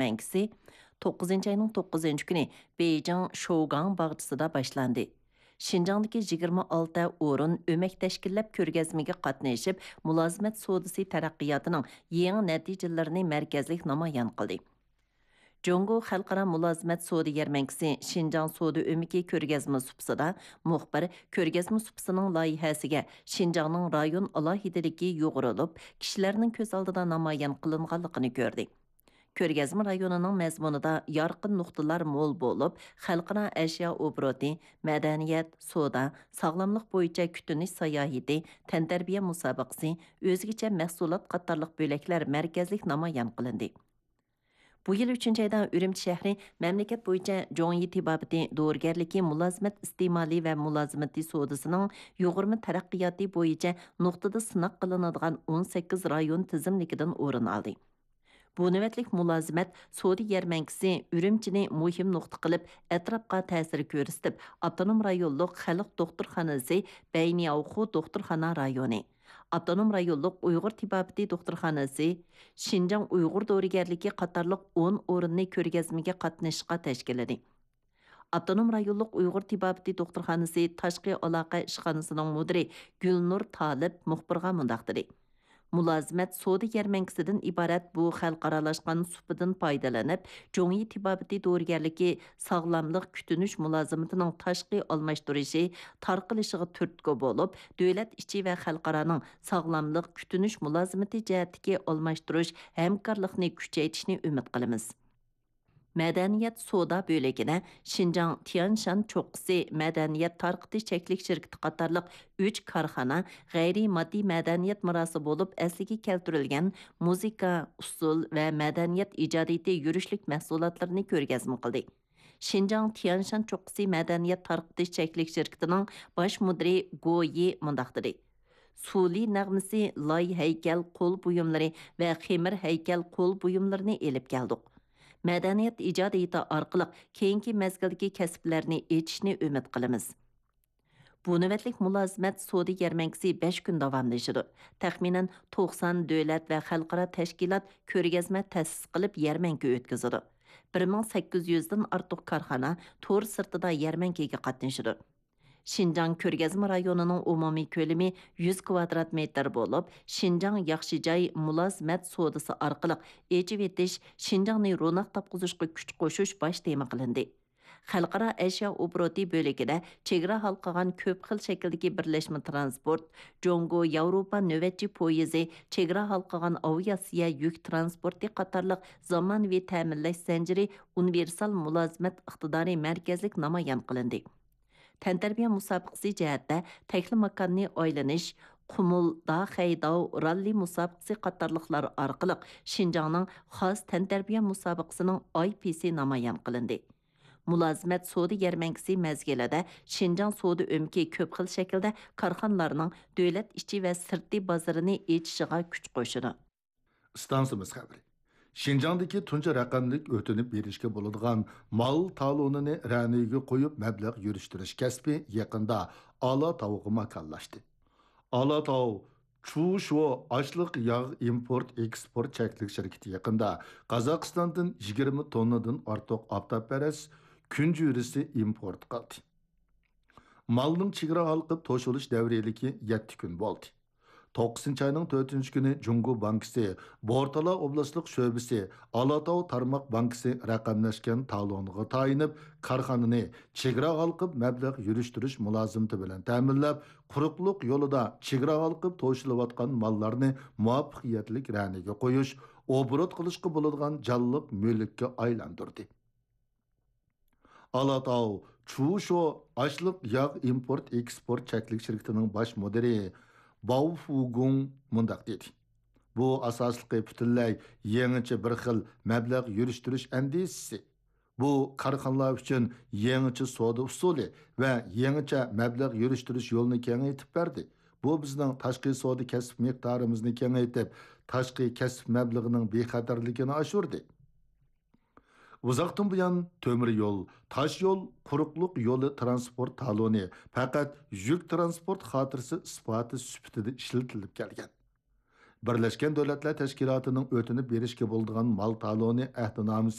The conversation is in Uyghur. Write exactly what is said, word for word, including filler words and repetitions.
بەڭگىسى توققۇزىنچى ئاينىڭ توققۇزىنچى كۈنى بېيجىڭ شوگاڭ باغچىسىدا باشلاندى. شىنجاڭدىكى يىگىرمە ئالتە ئورۇن ئۆمەك تەشكىللەپ كۆرگەزمىگە قاتنىشىپ، مۇلازىمەت سودىسى تەرەققىياتىنىڭ يېڭى نەتىجىلىرىنى مەركەزلىك نامايان قىلدى. جۇڭگو خەلقئارا مۇلازىمەت سودا يەرمەنكىسى شىنجاڭ سودا ئۆمىكى كۆرگەزمە سۇپىسىدا مۇخبىر كۆرگەزمە سۇپىسىنىڭ لايىھەسىگە شىنجاڭنىڭ رايون ئالاھىدىلىكى يۇغۇرۇلۇپ، كىشىلەرنىڭ كۆز ئالدىدا نامايان قىلىنغانلىقىنى كۆردى. كۆرگەزمە رايونىنىڭ مەزمۇنىدا يارقىن نۇقتىلار مول بولۇپ، خەلقئارا ئەشيا ئوبوروتى، مەدەنىيەت، سودا، ساغلاملىق بويىچە كۈتۈنۈش ساياھىتى، تەنتەربىيە مۇسابىقىسى، ئۆزگىچە مەھسۇلات قاتارلىق بۆلەكلەر مەركەزلىك نامايان قىلىندى. بۇ يىل ئۈچىنچى ئايدا ئۈرۈمچى شەھىرى مەملىكەت بويىچە جۇڭيى تېبابىتى دورىگەرلىكى مۇلازىمەت ئىستېمالى ۋە مۇلازىمىتى سودىسىنىڭ يۇغۇرما تەرەققىياتى بويىچە نۇقتىدا سىناق قىلىنىدىغان ئون سەككىز رايون تىزىملىكىدىن ئورۇن ئالدى. بۇ نۆۋەتلىك مۇلازىمەت سودا يەرمەنكىسى ئۈرۈمچىنى مۇھىم نۇقتا قىلىپ، ئەتراپقا تەسىر كۆرسىتىپ، ئاپتونوم رايونلۇق خەلق دوختۇرخانىسى بەينياۋخۇ دوختۇرخانا رايونى، ئاپتونوم رايونلۇق ئۇيغۇر تېبابىتى دوختۇرخانىسى، شىنجاڭ ئۇيغۇر دورىگەرلىكى قاتارلىق ئون ئورۇننى كۆرگەزمىگە قاتنىشىشقا تەشكىللىدى. ئاپتونوم رايونلۇق ئۇيغۇر تېبابىتى دوختۇرخانىسى تاشقى ئالاقە ئىشخانىسىنىڭ مۇدىرى گۈلنۇر تالىپ مۇخبىرغا مۇنداق دېدى: مۇلازىمەت سودا يەرمەنكىسىدىن ئىبارەت بۇ خەلقئارالاشقان سۇپىدىن پايدىلىنىپ، جۇڭيى تېبابىتى دورىگەرلىكى ساغلاملىق كۈتۈنۈش مۇلازىمىتىنىڭ تاشقى ئالماشتۇرۇشى، تارقىلىشىغا تۈرتكە بولۇپ، دۆلەت ئىچى ۋە خەلقئارانىڭ ساغلاملىق كۈتۈنۈش مۇلازىمىتى جەھەتتىكى ئالماشتۇرۇش ھەمكارلىقنى كۈچەيتىشىنى ئۈمىد قىلىمىز. مەدەنىيەت سودا بۆلىكىدە شىنجاڭ تيەنشان چوققىسى مەدەنىيەت تارقىتىش چەكلىك شىركىتى قاتارلىق ئۈچ كارخانا غەيرىي ماددىي مەدەنىيەت مىراسى بولۇپ ئەسلىگە كەلتۈرۈلگەن مۇزىكا، ئۇسسۇل ۋە مەدەنىيەت ئىجادىيىتى يۈرۈشلۈك مەھسۇلاتلىرىنى كۆرگەزمە قىلدى. شىنجاڭ تيەنشان چوققىسى مەدەنىيەت تارقىتىش چەكلىك شىركىتىنىڭ باش مۇدىرى گو يى مۇنداق دېدى: سۇلى نەغمىسى، لاي ھەيكەل، قول بۇيۇملىرى ۋە خېمىر ھەيكەل، قول بۇيۇملىرىنى ئېلىپ كەلدۇق. مەدەنىيەت ئىجادىيىتى ئارقىلىق كېيىنكى مەزگىلدىكى كەسىپلەرنى ئېچىشنى ئۈمىد قىلىمىز. بۇ نۆۋەتلىك مۇلازىمەت سودا يەرمەنكىسى بەش كۈن داۋاملىشىدۇ. تەخمىنەن توقسان دۆلەت ۋە خەلقئارا تەشكىلات كۆرگەزمە تەسىس قىلىپ يەرمەنكە ئۆتكۈزىدۇ. بىر مىڭ سەككىز يۈزدىن ئارتۇق كارخانا تور سىرتىدا يەرمەنكىگە قاتنىشىدۇ. شىنجاڭ كۆرگەزمە رايونىنىڭ ئومۇمىي كۆلىمى يۈز كۋادرات مېتىر بولۇپ، شىنجاڭ ياخشى جاي مۇلازىمەت سودىسى ئارقىلىق ئېچىۋېتىش، شىنجاڭنى روناق تاپقۇزۇشقا كۈچ قوشۇش باش تېما قىلىندى. خەلقئارا ئەشيا ئوبوروتى بۆلىكىدە چېگرا ھالقىغان كۆپ خىل شەكىلدىكى بىرلەشمە ترانسپورت، جۇڭگو ياۋروپا نۆۋەتچى پويىزى، چېگرا ھالقىغان ئاۋىئاتسىيە يۈك ترانسپورتى قاتارلىق زامانىۋى تەمىنلەش زەنجىرى ئۇنىۋېرسال مۇلازىمەت ئىقتىدارى مەركەزلىك نامايان قىلىندى. تەنتەربىيە مۇسابىقىسى جەھەتتە تەكلىماكاننى ئايلىنىش، قۇمۇل داخەيداۋ راللى مۇسابىقىسى قاتارلىقلار ئارقىلىق شىنجاڭنىڭ خاس تەنتەربىيە مۇسابىقىسىنىڭ ئاي پىسى نامايان قىلىندى. مۇلازىمەت سودا يەرمەنكىسى مەزگىلىدە شىنجاڭ سودا ئۆمىكى كۆپ خىل شەكىلدە كارخانىلارنىڭ دۆلەت ئىچى ۋە سىرتى بازىرىنى ئېچىشىغا كۈچ قوشىدۇ. ئىستانسىمىز خەۋىرى. شىنجاڭدىكى تۇنجى رەقەملىك ئۆتۈنۈپ بېرىشكە بولىدىغان مال تالونىنى رەنىگە قويۇپ مەبلەغ يۈرۈشتۈرۈش كەسپى يېقىندا ئالاتاۋغا ماكانلاشتى. ئالاتاۋ چۇشۇ ئاشلىق ياغ ئىمپورت ئېكسپورت چەكلىك شىركىتى يېقىندا قازاقىستاندىن يىگىرمە توننىدىن ئارتۇق ئاپتاپپەرەس كۈنجۈرىسى ئىمپورت قىلدى. مالنىڭ چېگرا ھالقىپ توشۇلۇش دەۋرىيلىكى يەتتە كۈن بولدى. توققۇزىنچى ئاينىڭ تۆتىنچى كۈنى جۇڭگو بانكىسى بورتالا ئوبلاستلىق شۆبىسى ئالاتاۋ تارماق بانكىسى رەقەملەشكەن تالونىغا تايىنىپ، كارخانىنى چېگرا ھالقىپ مەبلەغ يۈرۈشتۈرۈش مۇلازىمىتى بىلەن تەمىنلەپ، قۇرۇقلۇق يولىدا چېگرا ھالقىپ توشۇلۇۋاتقان ماللارنى مۇۋەپپەقىيەتلىك رەنىگە قويۇش، ئوبوروت قىلىشقا بولىدىغان جانلىق مۈلۈككە ئايلاندۇردى. ئالاتاۋ چۇشۇ ئاشلىق ياغ ئىمپورت ئېكسپورت چەكلىك شىركىتىنىڭ باش مۇدىرى باۋ فۇگۇڭ مۇنداق دېدى: بۇ ئاساسلىقى پۈتۈنلەي يېڭىچە بىر خىل مەبلەغ يۈرۈشتۈرۈش ئەندىزىسى. بۇ كارخانىلار ئۈچۈن يېڭىچە سودا ئۇسۇلى ۋە يېڭىچە مەبلەغ يۈرۈشتۈرۈش يولىنى كېڭەيتىپ بەردى. بۇ بىزنىڭ تاشقى سودا كەسىپ مىقدارىمىزنى كېڭەيتىپ، تاشقى كەسىپ مەبلىغىنىڭ بىخەتەرلىكىنى ئاشۇردى. ئۇزاقتىن بۇيان تۆمۈر يول، تاش يول، قۇرۇقلۇق يولى ترانسپورت تالونى پەقەت يۈك ترانسپورت خاتىرىسى ئىسپاتى سۈپىتىدە ئىشلىتىلىپ كەلگەن. بىرلەشكەن دۆلەتلەر تەشكىلاتىنىڭ ئۆتۈنۈپ بېرىشكە بولىدىغان مال تالونى ئەھدىنامىسى